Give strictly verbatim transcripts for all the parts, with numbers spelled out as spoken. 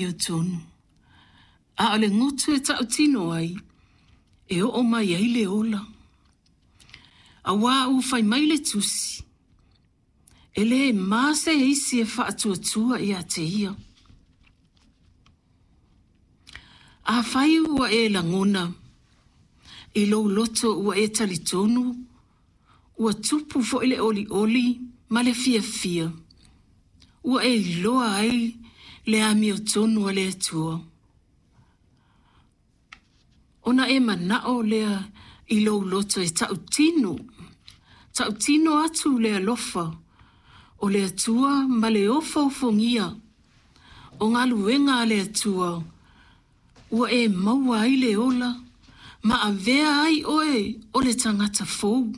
amiotonu, a o le gutu e tautino ai, e oo mai ai le ola. Auā ua fai mai le tusi, e lē ma se isi e faatuatua iā te ia. Afai ua e lagona i lou loto ua e talitonu, ua tupu foi le olioli ma le fiafia, ua e iloa ai le amiotonu a le Atua. Ona e manao lea i lou loto e tautino, tautino atu le alofa o le Atua ma le ofoofogia o galuega a le Atua ua e maua ai le ola ma avea ai oe o le tagata fou.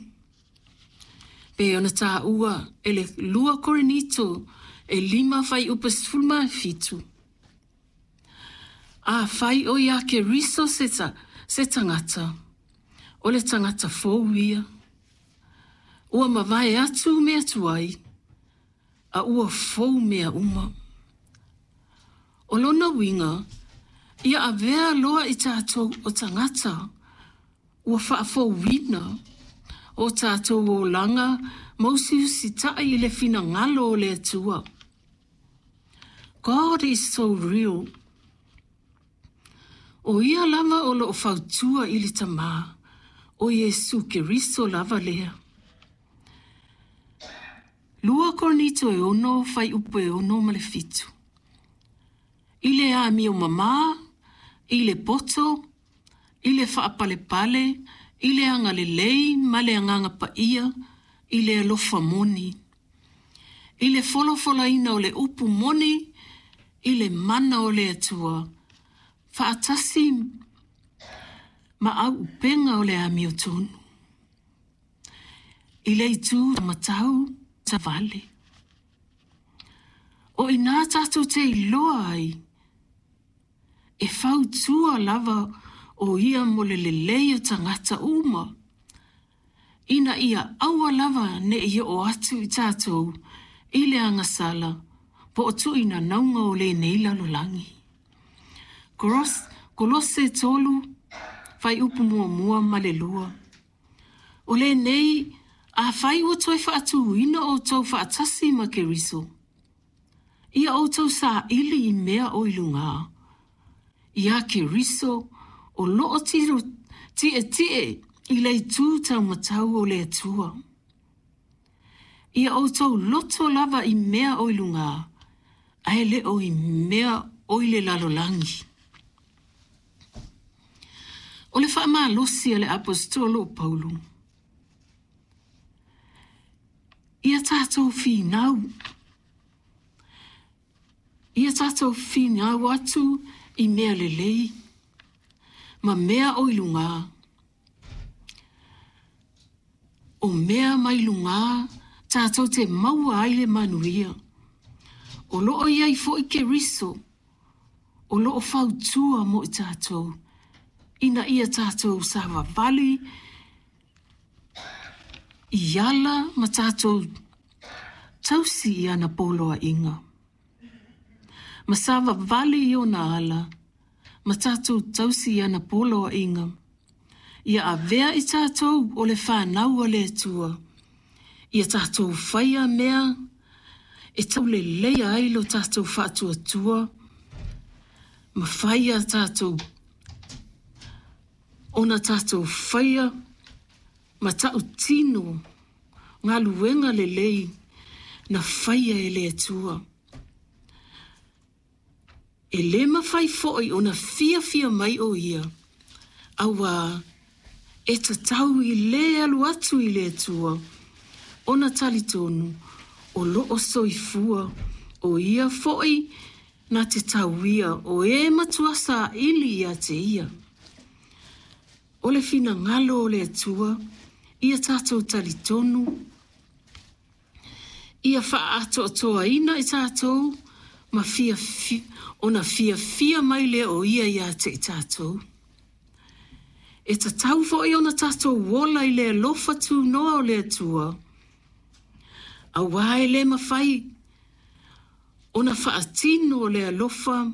Pei ona taua e le lua Korinito e lima fuaiupu sefulu ma fitu. Afai o ia Keriso se, ta, se tagata, o le tagata fou ia. Ua mavae atu mea tuai, a ua fou mea uma. O lona uiga, ia avea loa i tatou o tagata ua faafouina o tatou olaga ma usiusitai i le finagalo o le Atua. God is so real. O ia lava o loo fautua i le Tamā, o Iesu Keriso lava lea. Lua Korinito e ono, fuaiupu e ono ma le fitu. I le amio mamā, i le poto, i le faapalepale, i le agalelei ma le agaga paia, i le alofa moni. I le folafolaina o le upu moni, i le mana o le Atua, faatasi ma auupega o le amiotonu. I le itu matau vale. O ina tatou te iloa ai, e fautua lava o ia mo le lelei o tagata uma, ina ia aua lava ne i oo atu i tatou i le agasala po o tuuinanauga o lenei lalolagi. Kolose tolu, fuaiupu muamua ma le lua. O lenei, afai ua toe faatuina outou faatasi ma Keriso, ia outou saili i mea o i luga. Ia Keriso o loo tiro tietie i le itu taumatau o le Atua. Ia outou loto lava i mea o i luga, ae le o i mea o i le lalolagi. O le faamalosi a le Aposetolo o Paulo. Ia tatou finau. Ia tatou finau atu i mea lelei, ma mea o i luga. O mea mai luga, tatou te maua ai le manuia. O loo iai foi Keriso, o loo fautua mo i tatou, ina ia tatou savavali i ala ma tatou tausi i ana poloaiga. Ma savavali i ona ala, ma tatou tausi i ana poloaiga. Ia avea i tatou o le fanau a le Atua. Ia tatou faia mea e tauleleia ai lo tatou faatuatua, ma faia tatou ona tatou faia ma tautino galuega lelei na faia e le Atua. E lē mafai foi ona fiafia mai o ia, auā e tatau i lē alu atu i le Atua, ona talitonu o loo soifua, o ia foi na te tauia o e matua saili ia te ia. O le finagalo o le Atua, ia tatou talitonu, ia faaatoatoaina i tatou ma fiafia, ona fiafia mai lea o ia ia te i tatou. E tatau foi ona tatou ola i le alofa tunoa o le Atua, auā e lē mafai ona faatino le alofa